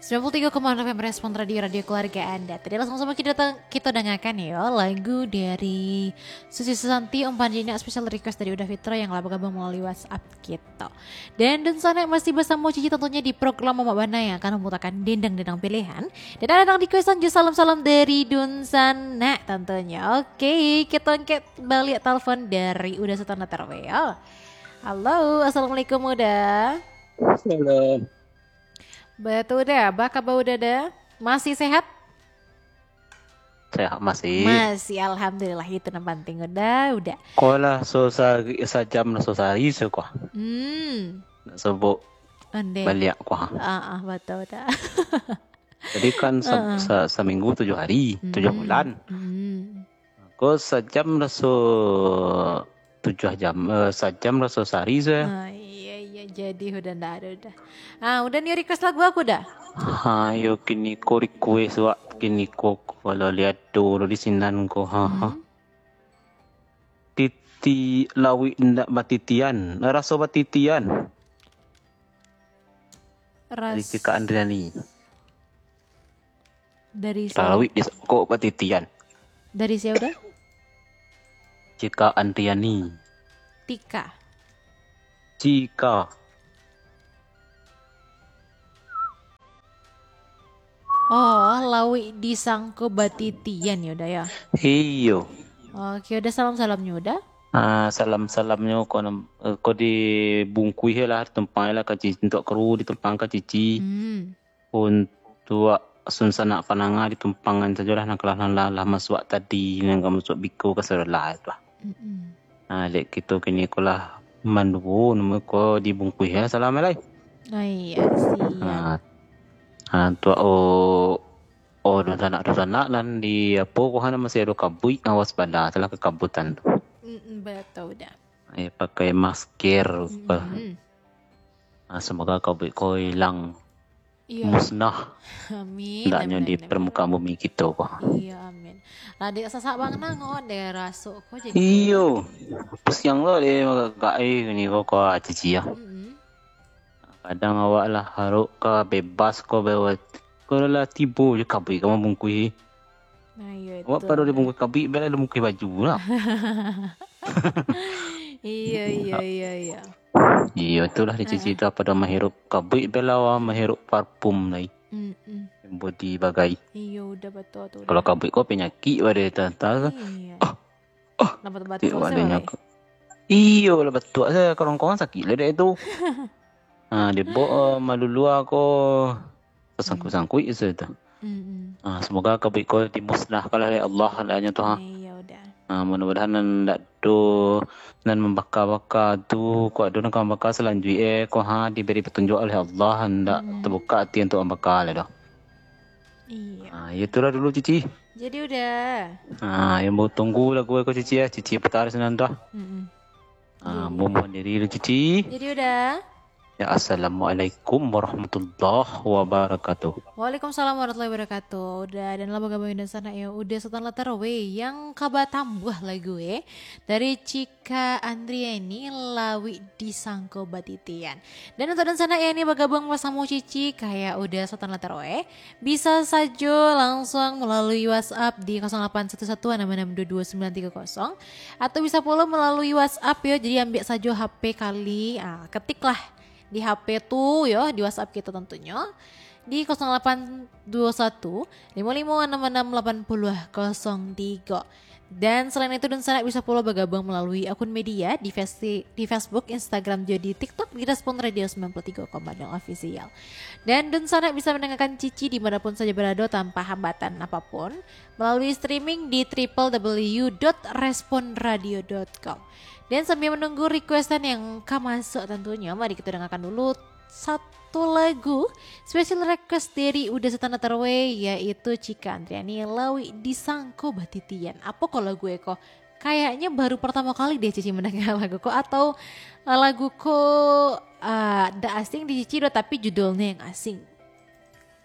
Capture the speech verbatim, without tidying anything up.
Sembilan puluh tiga koma enam F M Respon Radio, radio keluarga Anda. Tadi langsung sama kita datang, kita dengarkan yo lagu dari Susi Susanti, Umpan Jinak, special request dari Uda Fitra yang lah bergabung melalui WhatsApp kita. Dan dunsanak masih bersama Cici tentunya di program Mamak Bana yang akan memutarkan dendang-dendang pilihan. Dan ada datang requestan jo salam-salam dari dunsanak tentunya. Oke, kita angkat balik telepon dari Uda Sultan Latarwe yo. Halo, assalamualaikum Uda. Halo. Betul dah, apa kabar Uda dah? Masih sehat? Sehat masih. Masih, alhamdulillah, itu yang penting Uda, Uda. Ko lah so sehari, sajam lah so sehari so ko. Hmm. Nak sebut Onde. Baliak ko. Ah, ah, betul dah. Jadi kan se- se- seminggu tujuh hari, tujuh bulan. Hmm. Ko sajam lah so tujuh jam, eh, sajam lah so sehari so. Ah, iya, iya, jadi Uda ndak ada Uda. Ah, Uda ni request lagu aku dah. Ha, yo kini ko request wak kini ko kalau lihat tu di sinan ko. Ha, ha. Hmm. Titi lawik ndak batitian, raso batitian. Dari Ras Cika Andriani. dari Lawik di kok batitian. Dari siapa Uda? Cika Andriani. Tika. Cika. Oh, lawik disangko batitian yo Uda yo. Iyo. Oke, Uda salam-salamnya Uda. Ah, salam-salamnyo ko, eh, ko dibungkuih lah, ditumpang lah ka Cici, untuak kru ditumpang ka Cici. Hmm. Untuak sunsanak panangah ditumpangan sajolah nan kalah nan lah, lah masuak tadi, nan ka masuak biko ka sadolah tu lah. Mm-mm. Nah, dek kito kini ko lah manduo namo ko dibungkuih ya salam lai. Oh iya, siap. Nah, nah tuak o o dunsanak dunsanak nan di apo ko hana masih ado kabuik, awas bana salah kakabutan tu. Mm-mm, betul dah. Eh pakai masker. Mm-mm. Ah, semoga kabuik ko hilang Iya. Musnah. Amin. Ndaknyo Amin, di amin. Permukaan bumi kito ko. Iya, amin. Lah dek sasak bang nango dek rasuk ko jadi. Iyo. Pusiang lo dek magagak eh ni ko ko Cici ya. Mm-mm. Kadang awak lah harok ka bebas ko bewat. Ko lah tibo je kabuik ka mambungkuih. Nah, iya itu. Awak pado dibungkuih kabuik bela dibungkuih baju lah. Iya, iya, iya, iya. Iyo itulah di Cici tu pado mahirup kabuik bela awak mahirup parfum lai. Mm-mm. Body bagai. Iya, udah betul tu. Kalau kabuik ko penyakit pada tata. Iya. Ah, ah. Nampak tempat Cik kau awak sih, dengar Wak, ko. Iyo lah batuak saya korong-korong sakit lah dek tu. Ha, dia bawa uh, malulua ko tersangkut-sangkut je tu. Mm-mm. Ha, semoga kabuik ko dimusnahkan lah oleh Allah hendaknya tu ha. Iya, udah. Ha, mudah-mudahan nan ndak do nan membaka-baka tu ko ado nan ka membaka selanjutnya ko ha diberi petunjuk oleh Allah ndak Hmm. terbuka hati untuk membaka lah doh. Iya. Ha, itulah dulu Cici. Jadi udah. Ha, yang mau tunggu lagu ko Cici ya, Cici putar senang dah. Mm-mm. Ha, mohon diri dulu Cici. Jadi udah. Ya, assalamualaikum warahmatullahi wabarakatuh. Waalaikumsalam warahmatullahi wabarakatuh. Udah dan lah bergabung dengan sana ya. Udah Sultan Latar we yang kabar tambah lagu eh. Dari Cika Andriani Lawik Disangko Batitian. Dan untuk dan sana ya ini bergabung bersama Cici kayak udah Sultan Latar we. Bisa saja langsung melalui WhatsApp di kosong delapan satu satu enam enam dua dua sembilan tiga kosong atau bisa pula melalui WhatsApp ya. Jadi ambil saja H P kali, ah, ketiklah di H P tu yo, di WhatsApp kita tentunya di kosong delapan dua satu lima lima enam enam lapan puluh kosong tiga. Dan selain itu, dan sanak bisa pula bergabung melalui akun media di, festi- di Facebook, Instagram, juga di TikTok di Respon Radio sembilan puluh tiga koma nol Official. Dan dan sanak bisa mendengarkan Cici dimanapun saja berada tanpa hambatan apapun melalui streaming di triple w dot responradio dot com. Dan sambil menunggu requestan yang ka masuk tentunya, mari kita dengarkan dulu satu lagu special request dari Uda Setana Terwe, yaitu Cika Andriani, Lawik Disangko Batitian. Apa ko lagu eko? Kayaknya baru pertama kali deh Cici mendengar lagu ko, atau eh, lagu ko eh, dak asing di Cici doh, tapi judulnya yang asing.